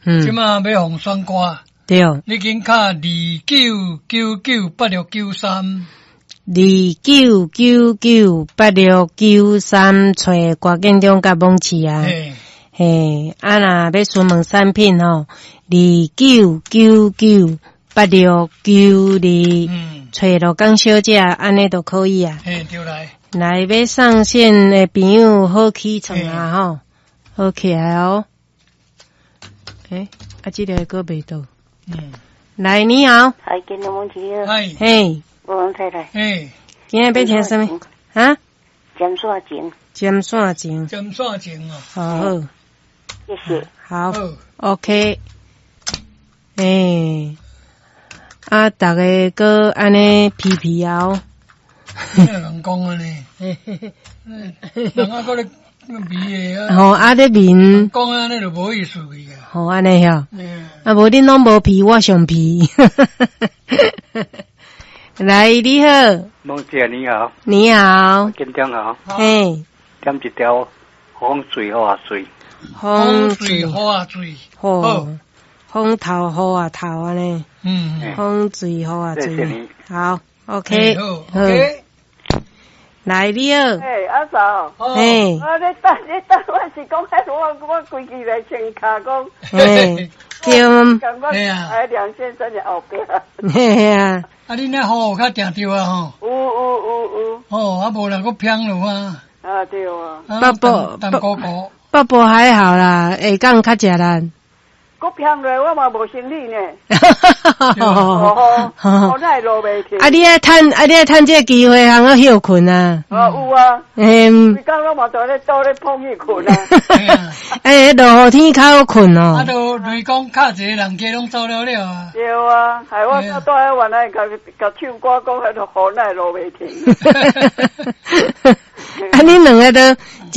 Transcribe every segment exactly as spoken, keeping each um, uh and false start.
嗯。這馬欲予選歌。對。你緊敲二九九九八六九三。二九九九八六九三，揣郭建中佮罔市啊。嘿，啊若欲詢問產品吼，二九九九八六九二，揣羅江小姐，按呢就可以啊。嘿，對來。來，欲上線的朋友好起床啊吼，好起來哦。欸，啊，這个閣袂到。嗯。來，你好。嗨，建中罔市。嗨。嘿。王太太。嘿。今仔欲聽啥物？啊？針線情。針線情。針線情啊。好好。謝謝。好。OK。欸，啊，逐家閣按呢皮皮哦。咩人講按呢？人啊，閣咧味的啊。吼，啊咧面。講按呢就無意思去啊。吼，按呢遐。啊，無恁攏無皮，我上皮。來，你好。罔姐你好。你好。建中好。嘿。點一條風水予我媠。風水予我媠。好。風頭予我頭按呢。嗯。風水予我媠。謝謝你。好，OK。好，OK。來，你好。嘿，阿嫂。嘿。我咧等，咧等，我是講，我我規氣來穿跤講。嘿。對。感覺喺梁先生的後壁。嘿啊。啊，恁那雨有較定著啊吼？有有有有。哦，啊無啦，閣偏落啊。啊對啊。北部淡糊糊。北部還好啦，下港較食力。閣偏落，我嘛無行李呢。哦，我哪會落袂去？啊，你愛趁，啊，你愛趁這個機會通好歇睏啊。啊，有啊。嗯。規工攏嘛在咧倒咧碰去睏啊。欸，落雨天較好睏哦。啊，都雷公敲一个人家攏走了了啊。對啊，害我到蹛遐原來共共唱歌講，彼個雨哪會落袂停。啊，恁兩个都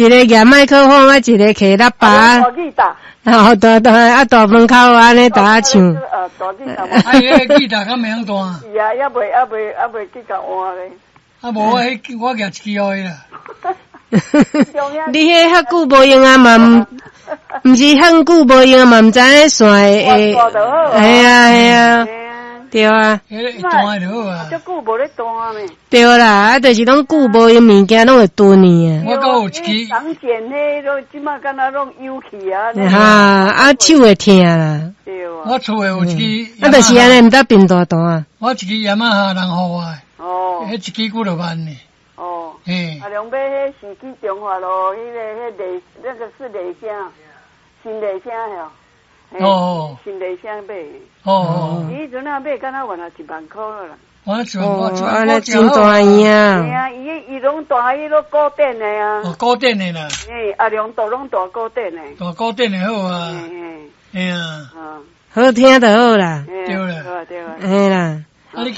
一个舉麥克風，啊，一个提喇叭。大吉他。哦，大大啊，大門口按呢逐家唱。啊，大吉他。啊，彼个吉他敢袂曉彈？是啊，猶未猶未猶未去共換咧。啊，無我彼我舉一支予伊啦。你彼遐久無用啊嘛，毋是遐久無用嘛，毋知影線會。會啊會啊，對啊。彼個會彈就好啊。足久無咧彈呢。對啦，啊，就是攏久無用物件，攏會斷去啊。我閣有一支。長繭彼攏這馬敢若攏有去啊。哈，啊手會疼啦。對啊。我厝內有一支。啊，就是按呢，毋得貧彈彈啊。我一支雅馬哈人予我的。哦。彼一支幾落萬呢。哦。嘿。啊，兩買彼時機中華路，彼个彼麗，那個是麗聲，新麗聲吼。哦。新麗聲買。哦哦。伊彼陣仔買，敢若原來一萬箍啦。我一萬箍，哦，按呢真大樣啊！嘿啊，伊伊攏彈，伊攏古典的啊。哦，古典的啦。嘿，阿良都攏彈古典的。彈古典的好啊。嘿嘿啊。好聽就好啦。對啦。對啦。嘿啦。啊，你